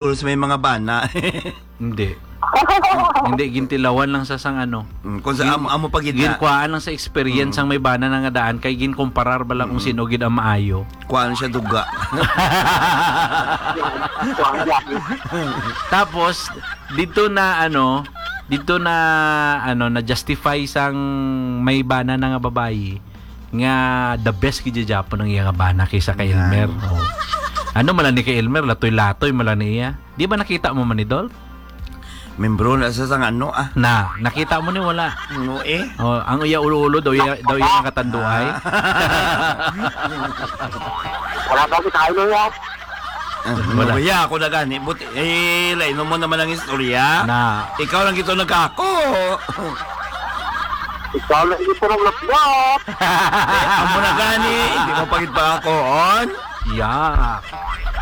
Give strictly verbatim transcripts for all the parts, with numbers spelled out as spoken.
Rules, may mga bana. Hindi. Hindi, gintilawan lang sa sang ano. Mm, kung sa Gin-, amo, amo pa gid na. Ginkuhaan lang sa experience Mm. ang may bana na nga daan, kay ginkumparar ba lang kung Mm. sino gid ang maayo. Kuhaan siya duga. Tapos, dito na, ano, dito na, ano, na-justify sang may bana na nga babayi nga the best gid gyapon ang iya nga bana kaysa kay Yan. Elmer. Oh. Ano man lang ni kay Elmer, latoy-latoy man lang niya. Di ba nakita mo man ni Dol? Membro na sa sang ano, ah. Na, nakita mo ni wala? No, eh. Oh, ang iya ulo-ulo daw iya, daw iya nakatanduay. Ah. Wala pa kita, ano, ya? Ah, Wala. Wala ako na gani. But, eh, lain mo naman ang istorya. Na. Ikaw lang ito nagkako. Ikaw lang ito naglaplap. Eh, amo na gani. Hindi mo pagid pa ako, on? Ya.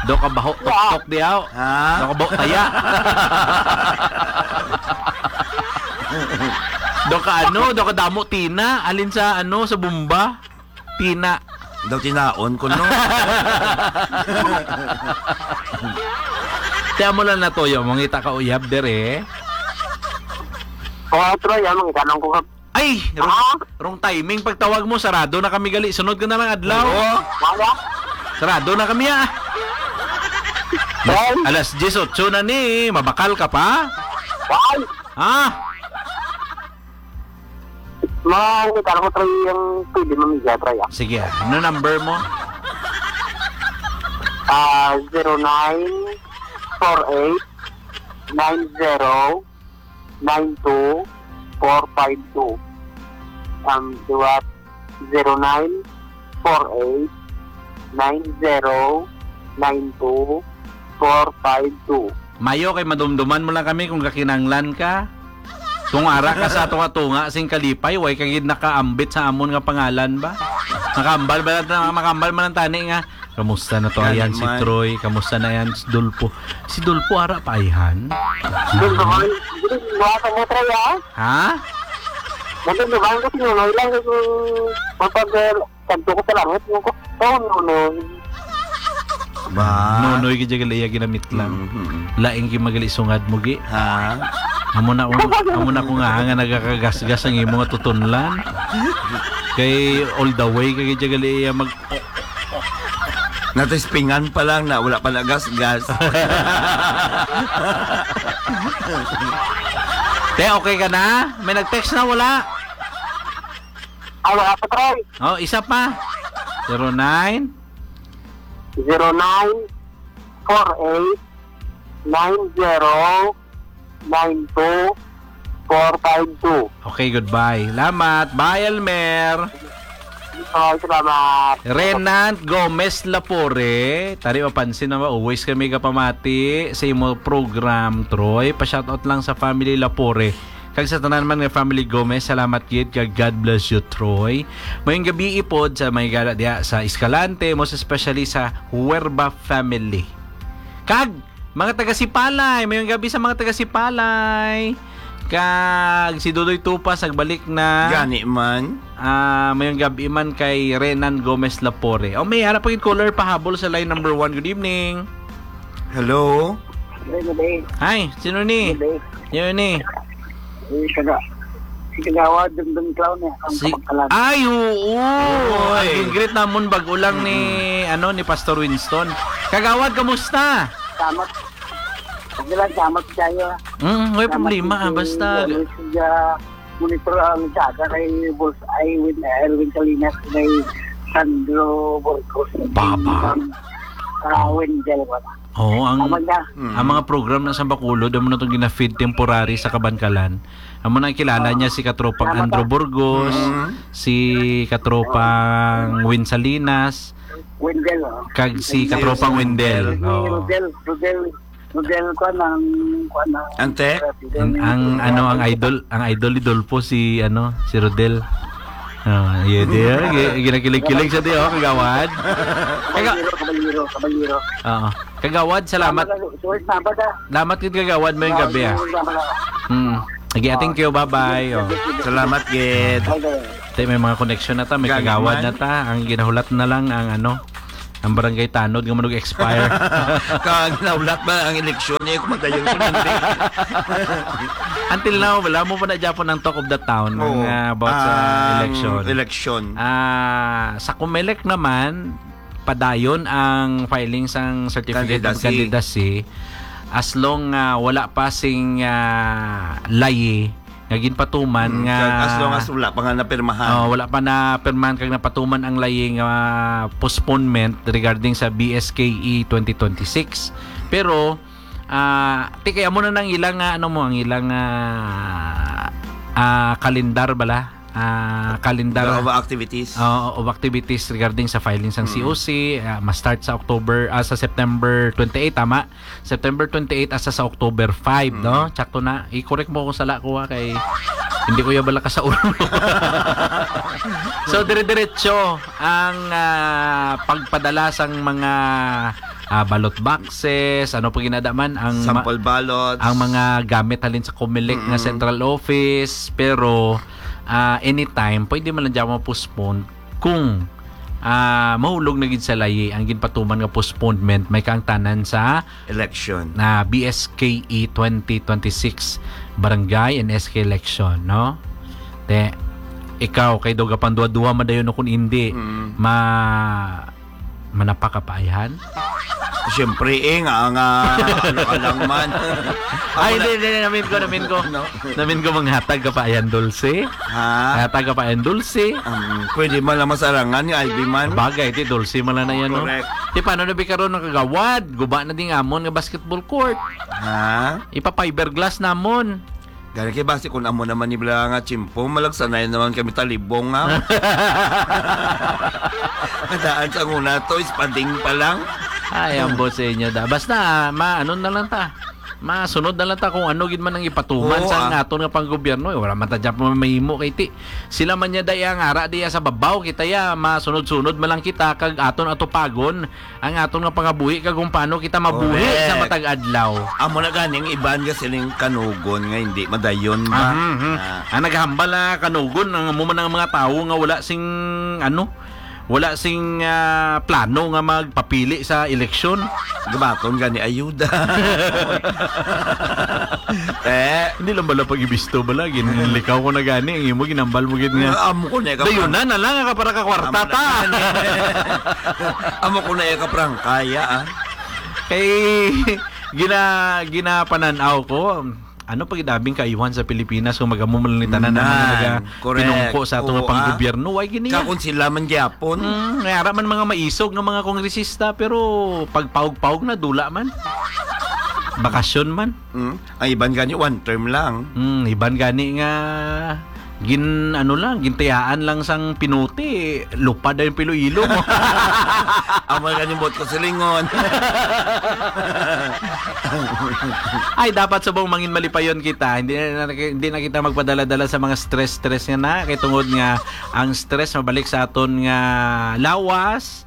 Do ka baho Ya. tuktok diyaw. Ha? Do ka baho taya. Do ka ano, do ka damo tina, alin sa ano, sa bomba? Tina. Daw tinaon ko, no? Kaya mo lang natuyo, mangita ka uyab, dere. Oo, Troy, ah, mangita lang ko ka- Ay, wrong, Ah? wrong timing pagtawag mo, sarado na kami gali. Sunod ka na lang adlaw. Oo. Wala. Sarado na kami, ah. Alas, Ay. alas diyes otso na ni, mabakal ka pa? Ay. Ah. Mangita lang ko, Troy, yung pwede mamigay, Troy, ah. Sige, ano number mo? Ah, zero nine four eight nine zero nine two four five two. Um, liwat, zero nine four eight nine zero nine two four five two. Mayo kay madumduman mo lang kami kung kakinanglan ka. Kung ara ka sa tunga-tunga sing kalipay, way ka gid nakaambit sa amon nga pangalan ba? Nakambal ba lang, makambal man lang tani nga, "Kamusta na to, Gani ayan si man. Troy? Kamusta na yan si Dolpo?" Si Dolpo, ara pa, ayhan? Dulpo, dulpo, mo, Troy, ah? Ha? Dulpo, dulpo, ko si Nonoy lang, yung mapag-, eh, kanto ko sa langit, yung ko, "Oh, Nonoy." Ba? Nonoy, gid gali iya ginamit lang. Mm-hmm. Laing gi magali sungad mo, gi. Ha? Amo na kung, amo na kung nga, nga nagakagasgas ang imo nga tutunlan. Kay all the way, kay gid gali iya mag- Natispingan pa lang na, wala pa nagasgas. Te, okay ka na? May nag-text na, wala? Ah, wala pa, Troy. Oh, isa pa. Zero nine? Zero nine four eight nine zero nine two four five two. Okay, goodbye. Salamat. Bye, Elmer. Ay, salamat. Renan Gomez Lapore, tari mapansin na always kami kapamati sa imo program, Troy. Pa-shoutout lang sa family Lapore. Kag sa tanan man nga family Gomez, salamat gid kag God bless you, Troy. Mayong gabi ipod sa mga gala diya sa Escalante, most especially sa Huerba family. Kag mga taga Sipalay, mayong gabi sa mga taga Sipalay. Kag si Dodoy Tupas nagbalik na. Gani man. Ah, mayong gabi man kay Renan Gomez Lapore. O, may ara pa gid caller pahabol sa line number one. Good evening. Hello? Good day. Hi, sino ni? Good day. Sino ni? Eh, kaga-, si Kagawad, Dundun Clown, eh, ang Si, Kapangkalan. Ay, oo. Oy. Ang gin-greet namon bag-o lang ni, Mm. ano, ni Pastor Winston. Kagawad, kamusta? Salamat. Okay lang, salamat kayo. Mm, may Salamat problema, din ah, si, basta ano, si, ah, monitor ang saga kay Boss Ay Win, Erwin Salinas, kay Sandro Burgos, Baba. Ah, Wendell, wala. Oo, ang, Tama na. Mm. ang mga program na sa Bacolod, amo na itong gina-feed temporary sa Kabankalan. Amo na ang kilala Ah. niya si Katropang Tama Andrew ka. Burgos, Mm. si Katropang Win Salinas, Wendell, oh. kag si Si Katropang Wendell. Wendell. Oo. Rodel, Rodel, Rodel, kuwan ang, kuwan ang Ante? Rodel Ang, ang, ang ano, ang Rodel. idol, ang idol ni Dolpo si, ano, si Rodel. Ah, yeah, di, ah, gi-, ginakilig-kilig siya, di, oh, kagawad. Kaga- Kabalyero, kabalyero, kabalyero. Oo. Kagawad, salamat. Salamat, Sir Sabad, ah. Salamat gid, kagawad, mayong gabi, ah. Salamat, salamat. Hmm. Sige, thank you. Bye-bye. Oh. Salamat gid. Bye-bye. Tay, may mga koneksyon na ta, may Galing kagawad man. na ta. Ang ginahulat na lang ang ano, Ang barangay tanod nga manug-expire. Kag naulat ba ang eleksyon niya kung madayon kung hindi? Until now, wala mo pa na Japon ang talk of the town ng, Oo. ah, about sa Ang election. election. Ah, sa Comelec naman, padayon ang filing sang certificate of Candidacy. candidacy as long, ah, wala pa sing, ah, layi nga ginpatuman Mm, nga kag as long as wala pa nga napirmahan. Oh, wala pa na pirmahan kag napatuman ang layi nga postponement regarding sa B S K E twenty twenty-six. Pero, ah, ti kay amo na nang ilang, ah, ano mo, ang ilang, ah, ah, kalendar bala? Ah, kalendar. The of activities. Oo, of activities regarding sa filing sang Mm. C O C, ah, ma-start sa October, ah, sa September twenty-eight, tama? September twenty-eight hasta sa October five, Mm. no? Sakto na. I-correct mo kung sala ko, ha, kay hindi ko yabala ka sa ulo. So, dire-diretso ang, ah, pagpadala sang mga, ah, ballot boxes, ano pa ginada man, ang ma-, Sample ballots. ang mga gamit halin sa Comelec nga Mm. central office, pero, ah, anytime, pwede man lang dyan ma-postpone kung, ah, mahulog na gid sa layi ang ginpatuman nga postponement, may kaangtanan sa Election. na B S K E twenty twenty-six barangay and S K election, no? Te, ikaw, kay daw gapanduha-duha madayon, no, kung hindi, Mm. ma-, manapa ka pa, ayhan? Siyempre, eh, nga, nga, ano ka lang man. Ay, Ako na hindi, hindi, namin ko, namin ko. No? Namin ko manghatag ka pa, ayhan, dulce. Ha? Hatag ka pa, ayhan, dulce. Um, pwede man lang masarangan ni Ivy man. Bagay, ti, dulce man lang na yan, no? Correct. Ti, paano na bi karon ang kagawad? Guba na ding amon nga basketball court. Ha? Ipa-fiberglass namon. Gani kay basi kung amo naman ni bala nga tiyempo, malagsanay naman kami talibong, nga. Daan sa una to, ispading pa lang. Ay, ang boss sa inyo da. Basta, ma-, ano na lang ta. Masunod na lang ta kung ano gid man ang ipatuman Oo, sa ah. aton nga panggobyerno. Eh, wala man ta dyan pa mahimo kay ti. Sila man niya daya ang ara diya sa babaw. Kita ya, masunod-sunod man lang kita kag aton atupagon ang aton nga pangabuhi kag kung paano kita mabuhi Correct. sa matag adlaw. Amo na gani ang iban nga siling kanugon nga hindi madayon ba? Mhm, mhm. Ah. Ang naghambal na kanugon, ang amo man ang mga tawo nga wala sing, ano, wala sing, ah, plano nga magpapili sa eleksyon. Gabaton gani ayuda. Eh. Hindi lang bala pag-ibisto bala, ginlikaw ko na gani, ang imo ginambal mo gid nga. Ah, amo ko na ka Dayunan na lang ka para ka kwarta Amo na ta. gani. Amo ko na ka prangkaya, ah. Kay gina-, ginapanan-aw ko, ano pa gid abing kaayuhan sa Pilipinas kung mag-amo man lang ni tanan ang mga Nan, naga correct. pinungko sa ato nga Oo, ah. panggobyerno? Why gini? Ka kung sila man gyapon. Mm, may ara man mga maisog nga mga kongresista, pero pagpawog-pawog na, dula man. Bakasyon man. Mm. Ang iban gani, one term lang. Mm, iban gani nga gin-, ano lang, gintiyaan lang sang pinuti, lupad na yung pilo-ilo mo. Amo gani buot ko silingon. Ay, dapat subong mangin malipayon kita. Hindi na, hindi na kita magpadala-dala sa mga stress-stress nga na. Kay tungod nga ang stress mabalik sa aton nga lawas,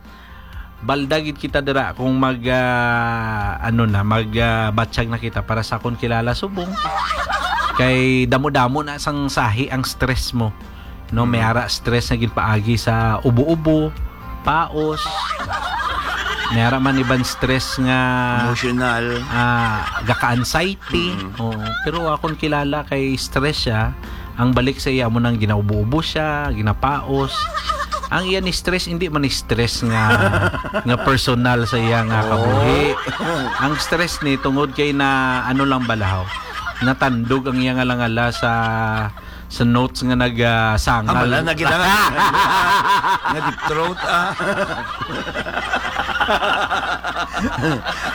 balda gid kita dira kung mag, ah, ano na, mag, ah, batsyag na kita para sa akon kilala subong. Kay damo-damo na sang sahi ang stress mo. No, may Mm. ara stress nga ginpaagi sa ubo-ubo, paos. May ara man iban stress nga, Emotional. ah, gaka-anxiety. Mm. Oo. Pero akon kilala kay stress siya. Ang balik sa iya mo nang ginaubo-ubo siya, ginapaos. Ang iya ni stress, hindi man ni stress nga, nga personal sa iya nga Oo. kabuhi. Ang stress ni tungod kay na, ano lang balahaw, natandog ang iya nga langala sa sa notes nga nag, ah, sangal. Ah, wala na gid nga, nga deep throat, ah.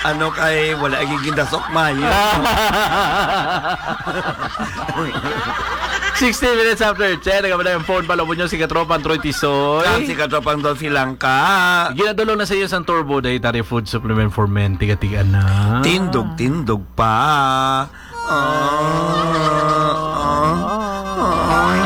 Ano kay wala gyud gindasok mayo. Sixteen minutes after ten, nagabala yung phone pala mo nyo si Katropang Troy Tisoy. Kag si Katropang Dolphy Langka. Ginadulong na sa iyo sang Turbo Dietary Food Supplement for Men. Tiga-tiga na. Tindog-tindog pa. Ah, ah, ah.